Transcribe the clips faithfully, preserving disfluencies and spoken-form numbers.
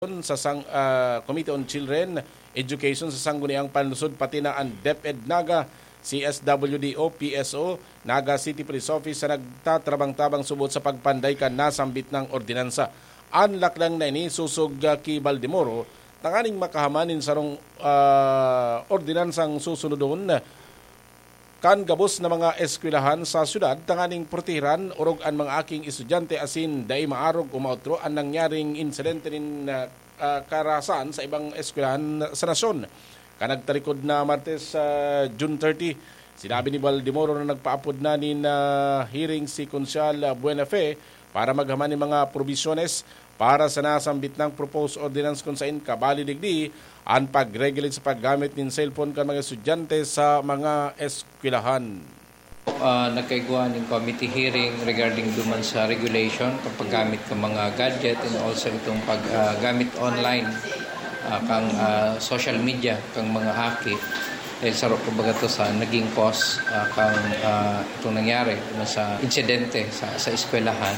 sa sang-, ah, Committee on Children Education sa Sangguniang Panlungsod, pati na ang DepEd Naga, C S W D o P S O, Naga City Police Office sa nagtatrabang-tabang subot sa pagpanday kan nasambit na ordinansa. An lakdang na ini sosog, ah, ki Baldemoro tanganing makahaman nin sarong, ah, ordinansang susunodon kan gabos na mga eskwelahan sa syudad tanganing protehiran orog an mga aking estudyante asin dai maarog o maotro an nangyaring insidente nin, ah, ah, karahasan sa ibang eskwelahan sa nasyon. Kan nagtarikod na Martes, ah, June thirty, sinabi ni Baldemoro na nagpaapod na nin, ah, hearing si Konsehal, ah, Buenafe para maghaman nin mga probisyones para sa nasambit na proposed ordinance kun saen kabali digdi an pag-regulate sa paggamit nin cellphone kan mga estudyante sa mga eskwelahan. Ah, nagkaigwa ning committee hearing regarding duman sa regulation kan paggamit kan mga gadget and also itong paggamit online, ah, kang, ah, social media kang mga aki. Dahil saro kumbaga to sa naging cause, ah, kang, ah, itong nangyari duman sa insidente sa, sa eskwelahan.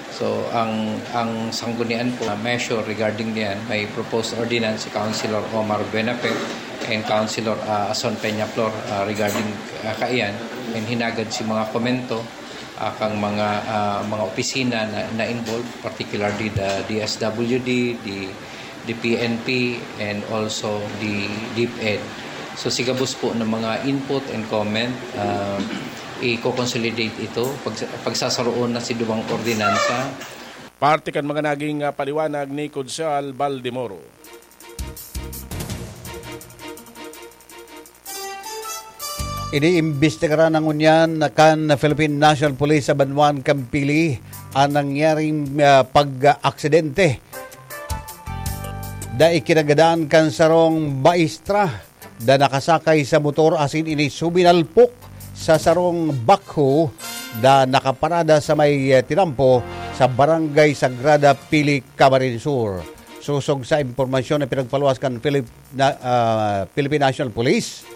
So, ang, ang sanggunian po na measure regarding diyan, may proposed ordinance si Councilor Omar Buenafe and Councilor, ah, Ason Peñaflor, ah, regarding, ah, kaiyan. And hinagad si mga komento, ah, kang mga, ah, mga opisina na, na involved, particularly the D S W D, the, the P N P, and also the DepEd. So, sigabos po ng mga input and comment, ah, i-consolidate ito, pag, pagsasaroon na si duwang ordinansa. Parte kan mga naging, ah, paliwanag ni Konsehal Baldemoro. Iniimbestigaran na ngunyan kan Philippine National Police sa banwaan kan Pili an nangyaring, ah, pag-aksidente. Dai kinagadan kan sarong maestra na nakasakay sa motor asin ini suminalpok sa sarong backhoe na nakaparada sa may, eh, tinampo sa Barangay Sagrada, Pili, Camarines Sur. Sosog sa impormasyon na pinagpaluwas kan Philip-, na, ah, Philippine National Police,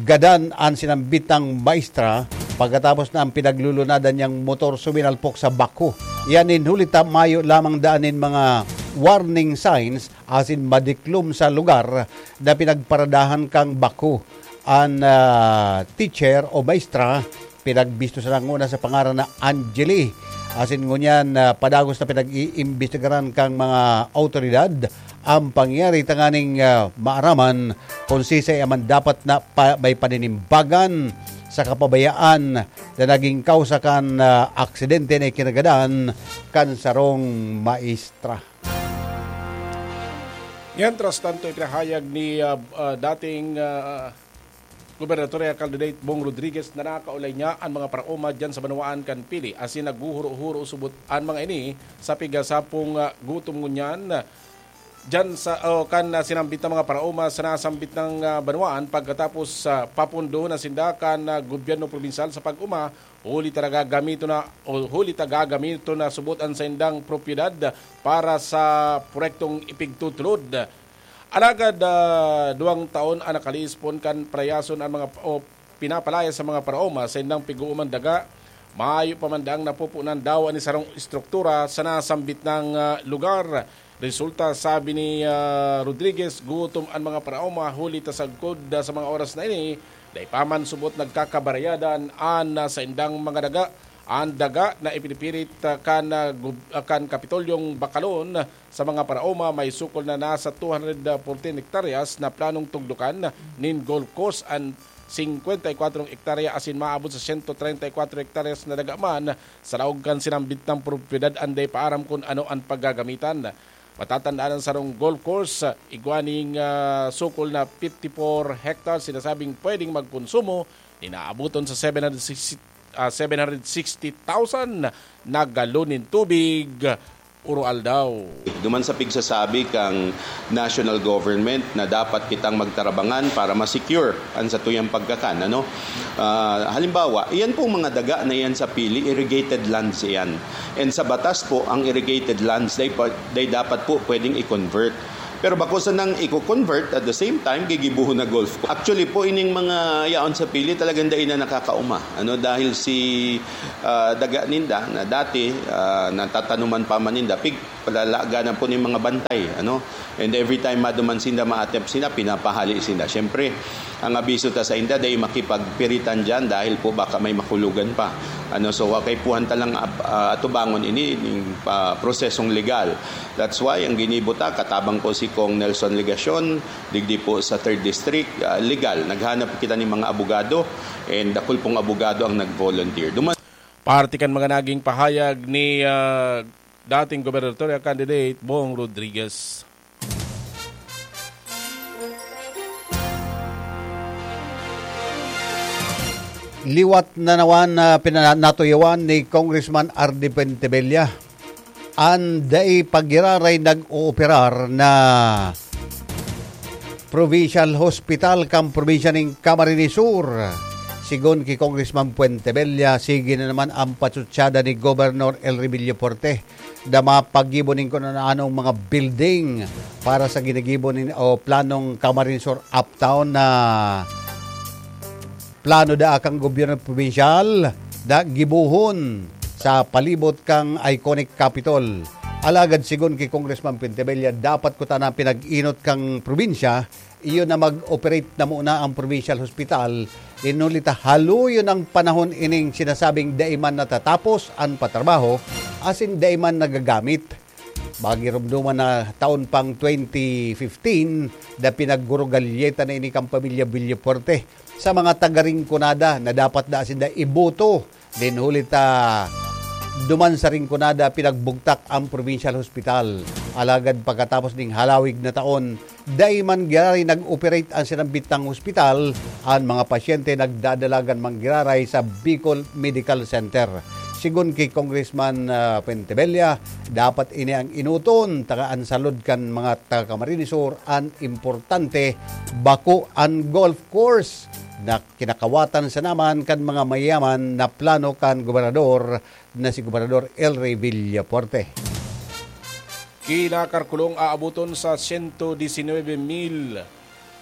gadan an sinambitang maestra pagkatapos na ang pinaglulunadan niyang motor suminalpok sa backhoe. Iyan nin huli ta mayo lamang daan nin mga warning signs asin madiklom sa lugar na pinagparadahan kan backhoe. An, ah, teacher o maestra pinagbisto sana nguna sa pangaran na Angeli. Asin ngunyan, ah, padagos na pinag-iimbestigaran kan mga awtoridad an pangyari tanganing, ah, maaraman kun siisay an dapat na pa-, may paninimbagan sa kapabayaan na naging kausa kan, ah, aksidente na ikinagadan kan sarong maestra. Mientras tanto, ipinahayag ni, ah, ah, dating, ah, Gobernador Candidate Bong Rodriguez na nakaulay niya an mga paraoma diyan sa banwaan kan Pili, asin naghuhuro-huro subot an mga ini sa pigasapong, ah, gutom ngunyan diyan sa, o kan, ah, sinambit na mga paraoma sa nasambit na, ah, banwaan pagkatapos, ah, papundo na sinda kan, ah, gobyerno probinsyal sa pag-oma huli ta gagamiton na, o huli ta gagamiton na subot an saindang propiedad para sa proyektong ipigtutulod. Alagad, ah, duwang taon an nakalispon kan palayason an mga, o pinapalayas sa mga paraoma sa indang pig-ooman daga. Mayo pa man daang napupunan daw an sarong estruktura sa nasambit na, ah, lugar. Resulta, sabi ni, ah, Rodriguez, gutom an mga paraoma huli ta sagkod, ah, sa mga oras na ini, dai pa man subot nagkakabarayadan an, ah, saindang mga daga. An daga na ipinipirit, ah, kan, ah, gub-, ah, kan Kapitolyong Bakalon sa mga paraoma may sukol na nasa two hundred fourteen hektaryas na planong tugdokan nin golf course an singkwenta y kwatro hektarya asin maabot sa siyento treinta y kwatro hektaryas na daga man sa laog kan sinambit na propiedad an dai pa aram kun ano an paggagamitan. Matatandaan an sarong golf course, ah, igwa ning, ah, sukol na fifty-four hectares sinasabing pwedeng magkonsumo nin aaboton sa seven hundred sixty, ah, seven hundred sixty thousand na galon nin tubig uro-aldaw. Duman sa pigsasabi kang national government na dapat kitang magtarabangan para ma-secure an satuyang pagkakan, ano? Ah, halimbawa, iyan pong mga daga na iyan sa Pili, irrigated lands iyan. And sa batas po, ang irrigated lands, they, pa- they dapat po pwedeng i-convert. Pero bako sanang i-convert, at the same time, gigibohon na golf course. Actually po, ining mga yaon sa Pili, talagang dai na nakakaoma. Ano, dahil si, ah, daga ninda na dati, ah, natatanuman pa man ninda, pig-, Lalaga na po ni mga bantay, ano? And every time maduman sinda, maatep sinda, pinapahali sinda. Siyempre, ang abiso ta sa inda, dai makipagpiritan dyan dahil po baka may makulugan pa. Ano, so, kaipuhan ta lang ap-, ah, atubangon ini, ning pa-, prosesong legal. That's why ang ginibo ta, katabang ko si Cong Nelson Legacion, digdi po sa third District, ah, legal. Naghanap kita ni mga abogado, and dakul pong abogado ang nag-volunteer. Duman- Parte kan mga naging pahayag ni, ah, dating gobernador candidate Bong Rodriguez. Liwat na naman na pina-, natuyawan ni Congressman Ardi Pentebella an dai pa giraray nag-ooperar na Provincial Hospital kan probinsya nin Camarines Sur. Sigon ki Congressman Puentebella, sige na naman ang patsutsada ni Gobernador Elry Villafuerte na mapagibo nin kun ano-anong mga building para sa ginigibo nin, o planong Camarines Sur Uptown na plano daa kan gobyerno probinsyal na gibohon sa palibot kan iconic Capitol. Alagad sigon ki Congressman Pentebella, dapat kuta na pinag-inot kan probinsya, iyo na mag-operate na muna ang provincial hospital. Nin huli ta haloyon ang panahon ining sinasabing dai man natatapos an patrabaho asin dai man nagagamit. Magiromdoman na taon pang twenty fifteen na pinaggurugalyeta na ini kan pamilya Villafuerte sa mga taga Rinconada na dapat daa sinda iboto. Nin huli ta duman sa Rinconada, pinagbugtak ang provincial hospital. Alagad pagkatapos ning halawig na taon, dai man giraray nag-operate ang sinambit nang hospital, ang mga pasyente nagdadalagan man giraray sa Bicol Medical Center. Sigon ki Congressman, ah, Pentebella, dapat ini ang inoton, taga an salud kan mga taga Camarines Sur, an importante, bako an golf course na kinakawatan sana man kan mga mayaman na plano kan gobernador na si Gobernador Elry Villafuerte. Kinakalkulong aaboton sa siyento disinwebe mil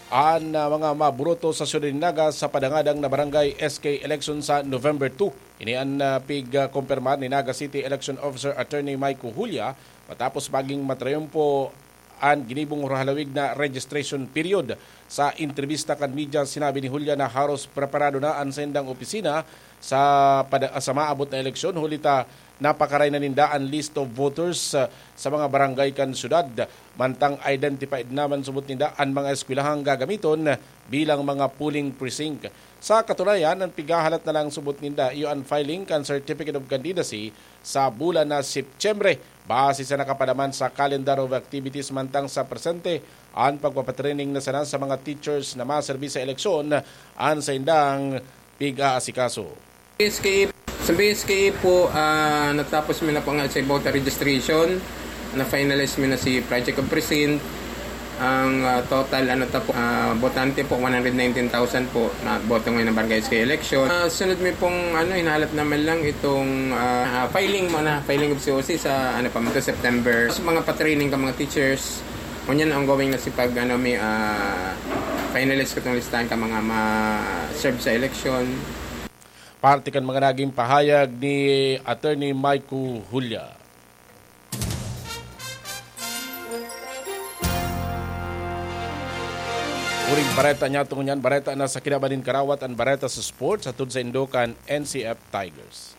an, ah, mga maboto sa syudad nin Naga sa padangadang na barangay S K election sa November two. Ini an, ah, pig-, ah, kumpirmar ni Naga City Election Officer Attorney Mike Julia matapos maging matrayumpo an ginibong halawig na registration period. Sa entrebista kan media, sinabi ni Julia na haros preparado na an saindang opisina sa pada-, sa maabot na eleksyon, huli ta napakaray na ninda an list of voters, ah, sa mga barangay kan syudad. Mantang identified naman subot ninda an mga eskwelahang gagamiton bilang mga polling precinct. Sa katunayan, an pighahalat na lang subot ninda iyo an filing kan Certificate of Candidacy sa bulan na Setyembre. Base sa nakapalaman sa calendar of activities mantang sa presente, an pagpapatraining na sana sa mga teachers na maserbi sa eleksyon an saindang pig-aasikaso. B S K A, sa B S K A po, ah, natapos mi na po nga sa voter registration. Na-finalize mi na si Project of Precinct. Ang, ah, total, ano ta po, ah, botante po, one hundred nineteen thousand po na boto ngayon ng Barangay S K election. Ah, sunod mi pong, ano, hinahalat naman lang itong, ah, ah, filing muna, filing of C O C sa, ano pa man to, September. Sa mga pa-training ka mga teachers, ngunyan ongoing na si pag, ano, may, ah, finalize ko itong listahan ka mga ma-serve sa election. Parte kan mga naging pahayag ni Attorney Mike Julia. Uring bareta niya, tungo niyan, bareta na sa kinaban nin karawat, an bareta sa sports, hatod sa indo kan N C F Tigers.